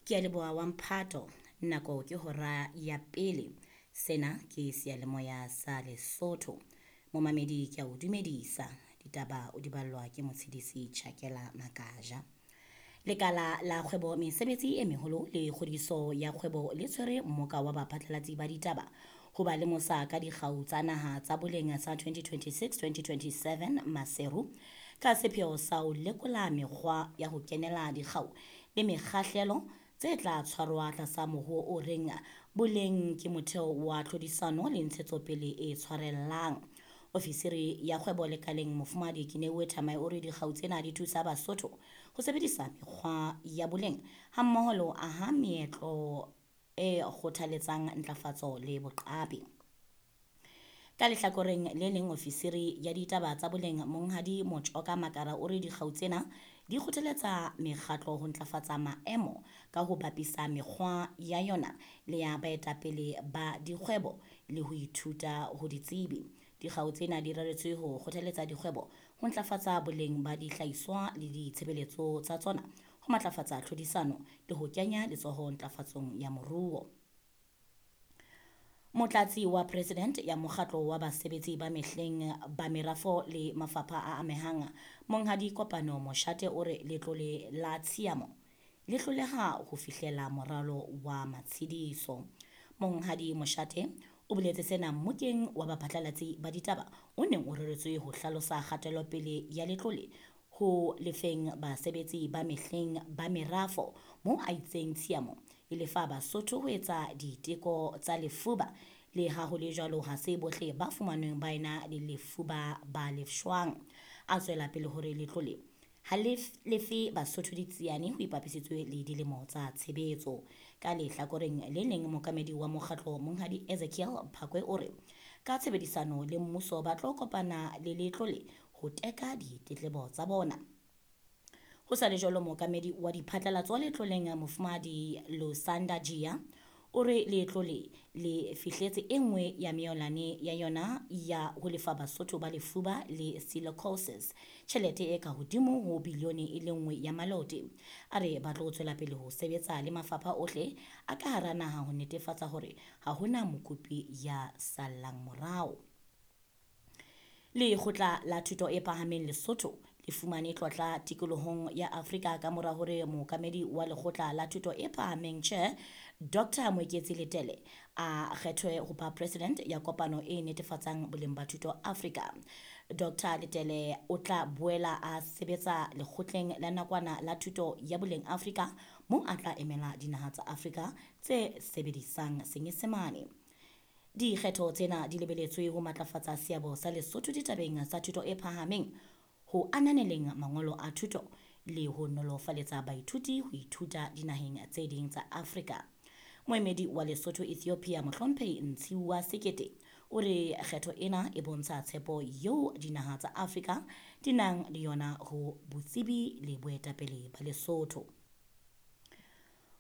Ke a leboha wa mphato, nako ke hora ya pele. Sena ke seyalemoya sa Lesotho. Momamedi ke a o dumedisa, ditaba o di ballwa ke motshedisi Tjhakela Makaja. Lekala la kgwebo mesebetsi e meholo le kgodiso ya kgwebo le tshwere mmoka wa baphatlalatsi ba ditaba ho ba lemosa ka dikgau tsa naha tsa boleng tsa 2026-2027 Maseru ka sepheo sa ho lekola mekgwa ya ho kenela dikgau le mekgahlelo tse tla tshwarwa tlasa mohoo o reng boleng ke motheo wa tlhodisano le ntshetsopele e tshwarellang. Ofisiri ya kgwebo lekaleng Mofumahadi Kineuwe Thamae o re dikgau tsena di thusa Basotho ho sebedisa mekgwa ya boleng hammoho le ho aha meetlo e kgothaletsang ntlafatso le boqapi. Ka lehlakoreng le leng ofisiri ya ditaba tsa boleng Monghadi Motjoka Makara o re dikgau tsena di kgothaletsa mekgatlo ho ntlafatsa maemo ka ho bapisa mekgwa ya yona le ya baetapele ba dikgwebo le ho ithuta ho ditsebi. Dikgau tsena di reretswe ho kgothaletsa dikgwebo ho ntlafatsa boleng ba dihlahiswa le ditshebeletso tsa tsona, ho matlafatsa tlhodisano le ho kenya letsoho ntlafatsong ya moruo. Motlatsi wa President ya mokgatlo wa basebetsi ba mehleng ba merafo le mafapha a amehang Monghadi Kopano Moshate o re letlole la tshiamo le hloleha ho fihlela moralo wa matshediso. Monghadi Moshate o boletse sena mmokeng wa baphatlalatsi ba ditaba o neng o reretswe ho hlalosa kgatelopele ya letlole ho lefeng basebetsi ba mehleng ba merafo moo a itseng tshiamo e lefa Basotho ho etsa diteko tsa lefuba le ha ho le jwalo ha se bohle ba fumanweng ba ena le lefuba ba lefshwang. A tswela pele hore letlole ha le lefe Basotho ditsiane ho ipapisitswe le dilemo tsa tshebetso. Ka lehlakoreng le leng mookamedi wa mokgatlo Monghadi Ezekiel Phakwe o re ka tshebedisano le mmuso ba tlo kopana le letlole ho teka ditletlebo tsa bona. Ho sa le jwalo mookamedi wa diphatlalatso letloleng Mofumahadi Lusanda Jia o re letlole le fihletse e nngwe ya meolane ya yona ya ho lefa Basotho ba lefuba le silicosis tjhelete e ka hodimo ho bilione e le nngwe ya malote. A re ba tlo tswela pele ho sebetsa le mafapha ohle a ka hara naha ho netefatsa hore ha hona mokopi ya sallang morao. Lekgotla la Thuto e Phahameng Lesotho le fumane tlotla tikolohong ya Afrika ka mora hore mookamedi wa lekgotla la thuto e phahameng Chair Dr. Moeketsi Letele a kgethwe ho ba president ya kopano e netefatsang boleng ba thuto Afrika. Dr. Letele o tla boela a sebetsa lekgotleng la nakwana la thuto ya boleng Afrika moo a tla emela dinaha tsa Afrika tse sebedisang Senyesemane. Dikgetho tsena di lebeletswe ho matlafatsa seabo sa Lesotho ditabeng tsa thuto e phahameng, ho ananeleng mangolo a thuto le ho nolofaletsa baithuti ho ithuta dinaheng tse ding tsa Afrika. Moemedi wa Lesotho Ethiopia Mohlomphehi Ntshiwa Sekete o re kgetho ena e bontsha tshepo eo dinaha tsa Afrika di nang le yona ho botsebi le boetapele ba Lesotho.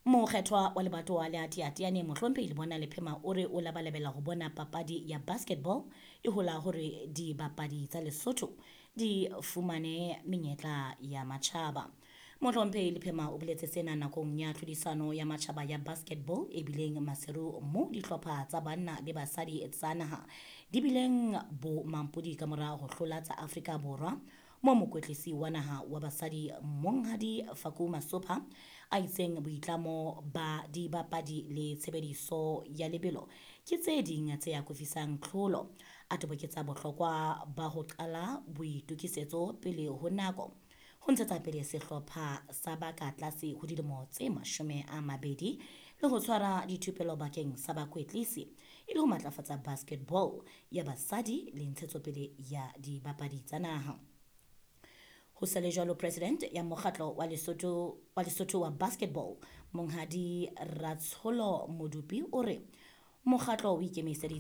Mokgethwa wa lebatowa le Teateane Mohlomphehi Lebona Lephema o re o labalabela ho bona papadi ya basketball e hola hore dibapadi tsa Lesotho di fumane menyetla ya matjhaba. Mohlomphehi Lephema o boletse sena nakong ya tlhodisano ya matjhaba ya basketball e bileng Maseru moo dihlopha tsa banna le basadi tsa naha di bileng bo mampodi ka mora ho hlola tsa Afrika Borwa moo mokwetlisi wa naha wa basadi Monghadi Faku Masopha a itseng boitlamo ba dibapadi le tshebediso ya lebelo ke tse ding tse akofisang tlholo. A toboketsa bohlokwa ba ho qala boitokisetso pele ho nako ho ntshetsa pele sehlopha sa ba ka tlase ho dilemo tse 20 le ho tshwara dithupelo bakeng sa bakwetlisi e le ho matlafatsa basketball ya basadi le ntshetsopele ya dibapadi tsa naha. Ho sa le jwalo president ya mokgatlo wa Lesotho wa basketball Monghadi Ratsholo Modupi o re mokgatlo o ikemiseditse